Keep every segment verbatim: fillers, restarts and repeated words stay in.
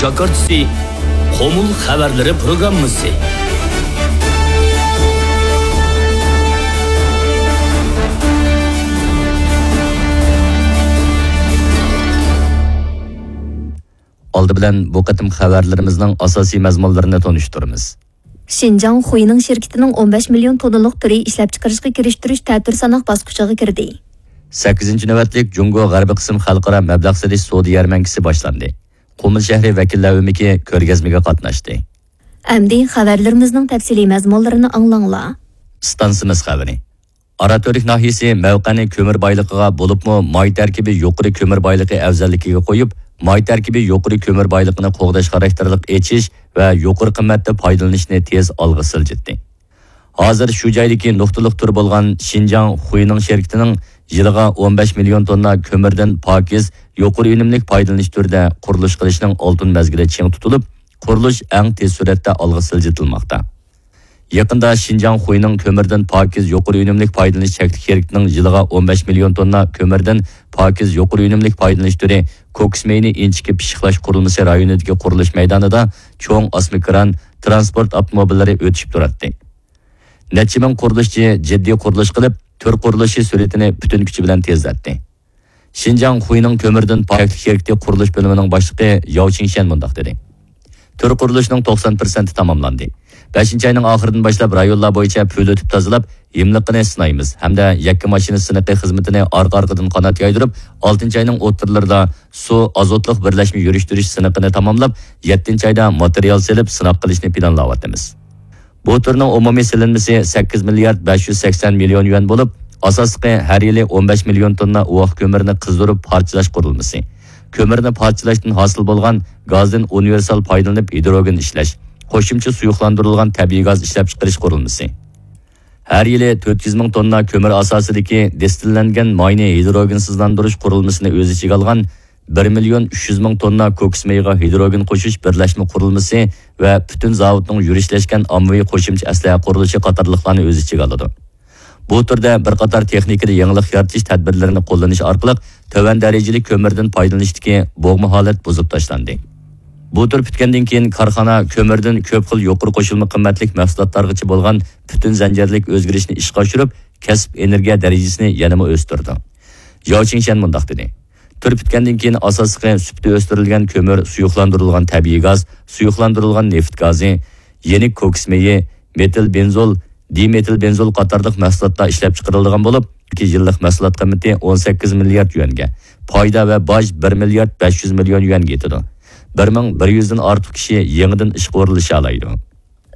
جاكارتىسى، قۇمۇل خەۋەرلىرى پروگراممىسى. ئالدى بىلەن بۇ قېتىم خەۋەرلىرىمىزنىڭ ئاساسىي مەزمۇنلىرىنى تونۇشتۇرىمىز. شىنجاڭ خۇينىڭ شىركىتىنىڭ ئون بەش مىليون توننىلىق تۈرى ئىشلەپچىقىرىشقا كىرىشتۈرۈش تەتۈر ساناق باسقۇچىغا كىردى. سەككىزىنچى نۆۋەتلىك جۇڭگو غەربىي قىسىم خەلقئارا مەبلەغ سېلىش سودا يەرمەنكىسى باشلاندى. قۇمۇل شەھىرى ۋەكىللەر ئۆمىكى كۆرگەزمىگە قاتناشتى. ئەمدى خەۋەرلىرىمىزنىڭ تەپسىلىي مەزمۇنلىرىنى ئاڭلاڭلار. ئىستانسىمىز خەۋىرى. ئاراتۈرك ناھىيىسى مەۋقەنى كۆمۈر بايلىقىغا، بولۇپمۇ ماي تەركىبى يۇقىرى كۆمۈر بايلىقى ئەۋزەللىكىگە قويۇپ، ماي تەركىبى يۇقىرى كۆمۈر بايلىقىنى قوغداش خاراكتېرلىق ئېچىش ۋە يۇقىرى قىممەتتە پايدىلىنىشنى تېز ئالغا سىلجىتتى. ھازىر شۇ جايدىكى نۇقتىلىق تۈر بولغان شىنجاڭ خۇينىڭ شىركىتىنىڭ يىلىغا ئون بەش مىليون توننا كۆمۈردىن پاكىز، يۇقىرى ئۈنۈملۈك پايدىلىنىش تۈرىدە قۇرۇلۇش قىلىشنىڭ ئالتۇن مەزگىلى چىڭ تۇتۇلۇپ، قۇرۇلۇش ئەڭ تېز سۈرئەتتە ئالغا سىلجىتىلماقتا. يېقىندا شىنجاڭ خۇينىڭ كۆمۈردىن پاكىز يۇقىرى ئۈنۈملۈك پايدىلىنىش چەكلىك شىركىتىنىڭ يىلىغا ئون بەش مىليون توننا كۆمۈردىن پاكىز يۇقىرى ئۈنۈملۈك پايدىلىنىش تۈرى كوكۇس مېيىنى ئىنچىكە پىششىقلاش قۇرۇلمىسى رايونىدىكى قۇرۇلۇش مەيدانىدا چوڭ ئاسما كران، تىرانسپورت ئاپتوموبىللىرى ئۆتۈشۈپ تۇراتتى. نەچچە مىڭ قۇرۇلۇشچى جىددىي قۇرۇلۇش قىلىپ، تۈر قۇرۇلۇشى سۈرئىتىنى پۈتۈن كۈچى بىلەن تېزلەتتى. شىنجاڭ خۇينىڭ كۆمۈردىن پاكىز شىركىتى قۇرۇلۇش بۆلۈمىنىڭ باشلىقى ياۋ چىڭشيەن مۇنداق دېدى: تۈر قۇرۇلۇشىنىڭ توقسان پىرسەنتى تاماملاندى. بەشىنچى ئاينىڭ ئاخىرىدىن باشلاپ رايونلار بويىچە پۈۋلىتىپ تازىلاپ، ھىملىقىنى سىنايمىز ھەمدە يەككە ماشىنا سىنىقى خىزمىتىنى ئارقا-ئارقىدىن قانات يايدۇرۇپ، ئالتىنچى ئاينىڭ ئوتتۇرىلىرىدا سۇ ئازوتلۇق بىرلەشمە يۈرۈشتۈرۈش سىنىقىنى تاماملاپ، يەتتىنچى ئايدا ماتېرىيال سېلىپ سىناق قىلىشنى پىلانلاۋاتىمىز. بۇ تۈرنىڭ ئومۇمىي سېلىنمىسى سەككىز مىليارد بەش يۈز سەكسەن مىليون يۈەن بولۇپ، ئاساسلىقى ھەر يىلى ئون بەش مىليون توننا ئۇۋاق كۆمۈرنى قىزدۇرۇپ پارچىلاش قۇرۇلمىسى، كۆمۈرنى پارچىلاشتىن ھاسىل بولغان گازدىن ئۇنىۋېرسال پايدىلىنىپ ھىدروگېن ئىشلەش، قوشۇمچە سۇيۇقلاندۇرۇلغان تەبىئىي گاز ئىشلەپچىقىرىش قۇرۇلمىسى. ھەر يىلى تۆت يۈز مىڭ توننا كۆمۈر ئاساسىدىكى دىستىللەنگەن ماينى ھىدروگېنسىزلاندۇرۇش قۇرۇلمىسىنى ئۆز ئىچىگە ئالغان بىر مىليون ئۈچ يۈز مىڭ توننا كوكۇس مېيىغا ھىدروگېن قوشۇش بىرلەشمە قۇرۇلمىسى ۋە پۈتۈن زاۋۇتنىڭ يۈرۈشلەشكەن ئاممىۋى قوشۇمچە ئەسلىھە قۇرۇلۇشى قاتارلىقلارنى ئۆز ئىچىگە ئالىدۇ. بۇ تۈردە بىر قاتار تېخنىكىدا يېڭىلىق يارىتىش تەدبىرلىرىنى قوللىنىش ئارقىلىق تۆۋەن دەرىجىلىك كۆمۈردىن پايدىلىنىشتىكى بوغما ھالەت بۇزۇپ تاشلاندى. بۇ تۈر پۈتكەندىن كېيىن، كارخانا كۆمۈردىن كۆپ خىل يۇقىرى قوشۇلما قىممەتلىك مەھسۇلاتلارغىچە بولغان پۈتۈن زەنجىرلىك ئۆزگىرىشنى ئىشقا ئاشۇرۇپ، كەسىپ ئېنېرگىيە دەرىجىسىنى يەنىمۇ ئۆستۈرىدۇ. ياۋ چىڭشيەن مۇنداق دېدى: تۈر پۈتكەندىن كېيىن، ئاساسلىقى سۈپىتى ئۆستۈرۈلگەن كۆمۈر، سۇيۇقلاندۇرۇلغان تەبىئىي گاز، سۇيۇقلاندۇرۇلغان نېفىت گازى، يېنىك كوكۇس مېيى، مېتىل بېنزول، دىمېتىل بېنزول قاتارلىق مەھسۇلاتلار ئىشلەپچىقىرىلىدىغان بولۇپ، يىللىق مەھسۇلات قىممىتى ئون سەككىز مىليارد يۈەنگە، پايدا ۋە باج بىر مىليارد بەش يۈز مىليون يۈەنگە يېتىدۇ. بىر مىڭ بىر يۈزدىن ئارتۇق كىشى يېڭىدىن ئىشقا ئورۇنلىشالايدۇ.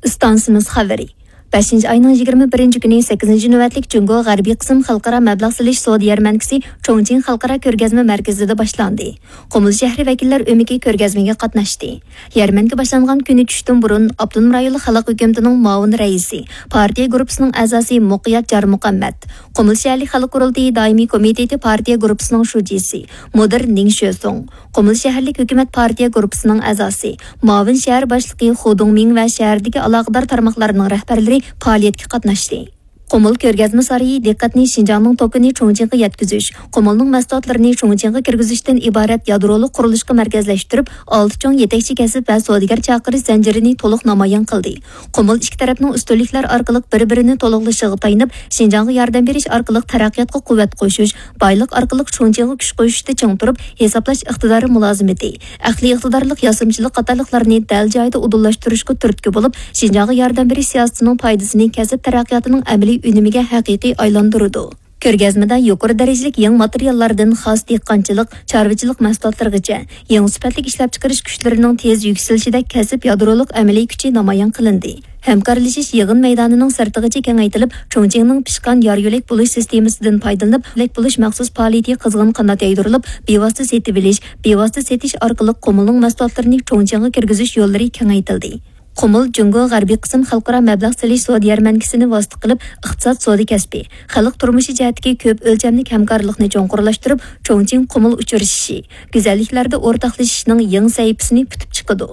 ئىستانسىمىز خەۋىرى. بەشىنچى ئاينىڭ يىگىرمە بىرىنچى كۈنى سەككىزىنچى نۆۋەتلىك جۇڭگو غەربىي قىسىم خەلقئارا مەبلەغ سېلىش سودا يەرمەنكىسى چۇڭچىڭ خەلقئارا كۆرگەزمە مەركىزىدە باشلاندى. قۇمۇل شەھىرى ۋەكىللەر ئۆمىكى كۆرگەزمىگە قاتناشتى. يەرمەنكە باشلانغان كۈنى چۈشتىن بۇرۇن ئاپتونوم رايونلۇق خەلق ھۆكۈمىتىنىڭ مۇئاۋىن رەئىسى، پارتىيە گۇرۇپپىسىنىڭ ئەزاسى مۇقىيەت جارمۇخەممەت، قۇمۇل شەھەرلىك خەلق قۇرۇلتىيى دائىمىي كومىتېتى پارتىيە گۇرۇپپىسىنىڭ شۇجىسى، مۇدىر نىڭ شۆسۇڭ، قۇمۇل شەھەرلىك ھۆكۈمەت پارتىيە گۇرۇپپىسىنىڭ ئەزاسى، مۇئاۋىن شەھەر باشلىقى خۇ دۇڭمىڭ ۋە شەھەردىكى ئالاقىدار تارماقلارنىڭ رەھبەرلىرى پائالىيەتكە قاتناشتى. قۇمۇل كۆرگەزمە سارىيى دىققەتنى شىنجاڭنىڭ توكىنى چۇڭچىڭغا يەتكۈزۈش، قۇمۇلنىڭ مەھسۇلاتلىرىنى چۇڭچىڭغا كىرگۈزۈشتىن ئىبارەت يادرولۇق قۇرۇلۇشقا مەركەزلەشتۈرۈپ، ئالتە چوڭ يېتەكچى كەسىپ ۋە سودىگەر چاقىرىش زەنجىرىنى تولۇق نامايان قىلدى. قۇمۇل ئىككى تەرەپنىڭ ئۈستۈنلۈكلەر ئارقىلىق بىر-بىرىنى تولۇقلىشىغا تايىنىپ، شىنجاڭغا ياردەم بېرىش ئارقىلىق تەرەققىياتقا قۇۋۋەت قوشۇش، بايلىق ئارقىلىق چۇڭچىڭغا كۈچ قوشۇشتا چىڭ تۇرۇپ، ھېسابلاش ئىقتىدارى مۇلازىمىتى، ئەقلىي ئىقتىدارلىق ياسىمىچىلىق قاتارلىقلارنى دەل جايىدا ئۇدۇللاشتۇرۇشقا تۈرتكە بولۇپ، شىنجاڭغا ياردەم بېرىش سىياسىتىنىڭ پايدىسىنى كەسىپ تەرەققىياتىنىڭ ئەمەلىي ئۈنۈمىگە ھەقىقىي ئايلاندۇرىدۇ. كۆرگەزمىدە يۇقىرى دەرىجىلىك يېڭى ماتېرىياللاردىن خاس دېھقانچىلىق، چارۋىچىلىق مەھسۇلاتلىرىغىچە يېڭى سۈپەتلىك ئىشلەپچىقىرىش كۈچلىرىنىڭ تېز يۈكسىلىشىدەك كەسىپ يادرولۇق ئەمەلىي كۈچى نامايان قىلىندى. ھەمكارلىشىش يىغىن مەيدانىنىڭ سىرتىغىچە كېڭەيتىلىپ، چۇڭچىڭنىڭ پىشقان يار يۆلەك بولۇش سىستېمىسىدىن پايدىلىنىپ، يۆلەك بولۇش مەخسۇس پائالىيىتى قىزغىن قانات يايدۇرۇلۇپ، بىۋاسىتە سېتىۋېلىش، بىۋاسىتە سېتىش ئارقىلىق قۇمۇلنىڭ مەھسۇلاتلىرىنى چۇڭچىڭغا كىرگۈزۈش يوللىرى كېڭەيتىلدى. قۇمۇل جۇڭگو غەربىي قىسىم خەلقئارا مەبلەغ سېلىش سودا يەرمەنكىسىنى ۋاسىتە قىلىپ، ئىقتىساد، سودا كەسپى، خەلق تۇرمۇشى جەھەتتىكى كۆپ ئۆلچەملىك ھەمكارلىقنى چوڭقۇرلاشتۇرۇپ، چۇڭچىڭ قۇمۇل ئۇچرىشىشى، گۈزەللىكلەردە ئورتاقلىشىشنىڭ يېڭى سەھىپىسىنى پۈتۈپ چىقىدۇ.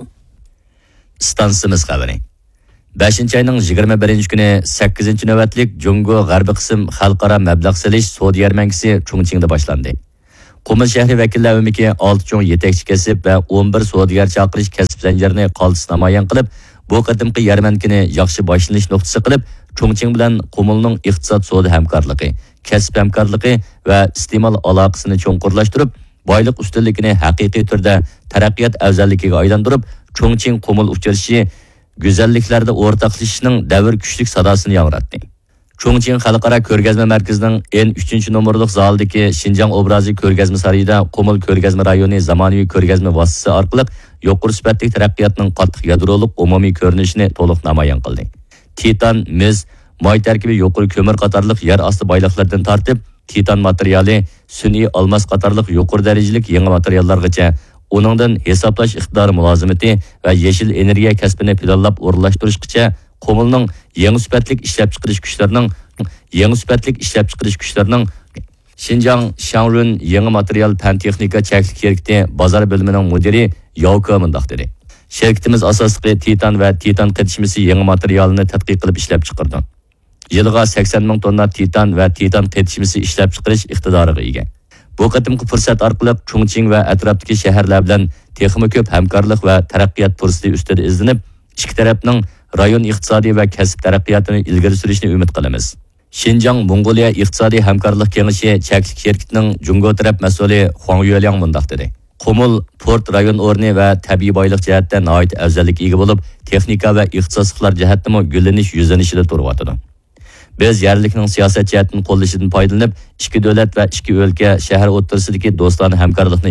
ئىستانسىمىز خەۋىرى. بەشىنچى ئاينىڭ يىگىرمە بىرىنچى كۈنى سەككىزىنچى نۆۋەتلىك جۇڭگو غەربىي قىسىم خەلقئارا مەبلەغ سېلىش سودا يەرمەنكىسى چۇڭچىڭدا باشلاندى. قۇمۇل شەھىرى ۋەكىللەر ئۆمىكى ئالتە چوڭ يېتەكچى كەسىپ ۋە ئون بىر سودىگەر چاقىرىش كەسىپ زەنجىرىنى قالتىس نامايان قىلىپ، بۇ قېتىمقى يەرمەنكىنى ياخشى باشلىنىش نۇقتىسى قىلىپ، چۇڭچىڭ بىلەن قۇمۇلنىڭ ئىقتىساد سودا ھەمكارلىقى، كەسىپ ھەمكارلىقى ۋە ئىستېمال ئالاقىسىنى چوڭقۇرلاشتۇرۇپ، بايلىق ئۈستۈنلۈكىنى ھەقىقىي تۈردە تەرەققىيات ئەۋزەللىكىگە ئايلاندۇرۇپ، چۇڭچىڭ قۇمۇل ئۇچرىشىشى گۈزەللىكلەردە ئورتاقلىشىشنىڭ دەۋر كۈچلۈك ساداسىنى ياڭراتتى. چۇڭچىڭ خەلقئارا كۆرگەزمە مەركىزىنىڭ ئېن ئۈچىنچى نومۇرلۇق زالىدىكى شىنجاڭ ئوبرازى كۆرگەزمە سارىيىدا قۇمۇل كۆرگەزمە رايونى زامانىۋى كۆرگەزمە ۋاسىتىسى ئارقىلىق يۇقىرى سۈپەتلىك تەرەققىياتنىڭ قاتتىق يادرولۇق ئومۇمىي كۆرۈنۈشىنى تولۇق نامايان قىلدى. تىتان، مىس، ماي تەركىبى يۇقىرى كۆمۈر قاتارلىق يەر ئاستى بايلىقلىرىدىن تارتىپ، تىتان ماتېرىيالى، سۈنئىي ئالماس قاتارلىق يۇقىرى دەرىجىلىك يېڭى ماتېرىياللارغىچە، ئۇنىڭدىن ھېسابلاش ئىقتىدارى مۇلازىمىتى ۋە يېشىل ئېنېرگىيە كەسپىنى پىلانلاپ ئورۇنلاشتۇرۇشقىچە، قۇمۇلنىڭ يېڭى سۈپەتلىك ئىشلەپچىقىرىش كۈچلىرىنىڭ، يېڭى سۈپەتلىك ئىشلەپچىقىرىش كۈچلىرىنىڭ شىنجاڭ شاڭرۈن يېڭى ماتېرىيال پەن تېخنىكا چەكلىك شىركىتى بازار بۆلۈمىنىڭ مۇدىرى ياۋ كې مۇنداق دېدى: شىركىتىمىز ئاساسلىقى تىتان ۋە تىتان قېتىشمىسى يېڭى ماتېرىيالىنى تەتقىق قىلىپ ئىشلەپچىقىرىدۇ. يىلىغا سەكسەن مىڭ توننا تىتان ۋە تىتان قېتىشمىسى ئىشلەپچىقىرىش ئىقتىدارىغا ئىگە. بۇ قېتىمقى پۇرسەت ئارقىلىق چۇڭچىڭ ۋە ئەتراپتىكى شەھەرلەر بىلەن تېخىمۇ كۆپ ھەمكارلىق ۋە تەرەققىيات پۇرسىتى ئۈستىدە ئىزدىنىپ، ئىككى تەرەپنىڭ رايون ئىقتىسادىي ۋە كەسىپ تەرەققىياتىنى ئىلگىرى سۈرۈشىنى ئۈمىد قىلىمىز. شىنجاڭ موڭغۇلىيە ئىقتىسادىي ھەمكارلىق كېڭىشى چەكلىك شىركىتىنىڭ جۇڭگو تەرەپ مەسئۇلى خۇاڭ يۈەلياڭ مۇنداق دېدى: قۇمۇل پورت رايون ئورنى ۋە تەبىئىي بايلىق جەھەتتە ناھايىتى ئەۋزەللىككە ئىگە بولۇپ، تېخنىكا ۋە ئىختىساسلىقلار جەھەتتىمۇ گۈللىنىش يۈزلىنىشىدا تۇرۇۋاتىدۇ. بىز يەرلىكنىڭ سىياسەت جەھەتتىن قوللىشىدىن پايدىلىنىپ، ئىككى دۆلەت ۋە ئىككى ئۆلكە، شەھەر ئوتتۇرىسىدىكى دوستانە ھەمكارلىقنى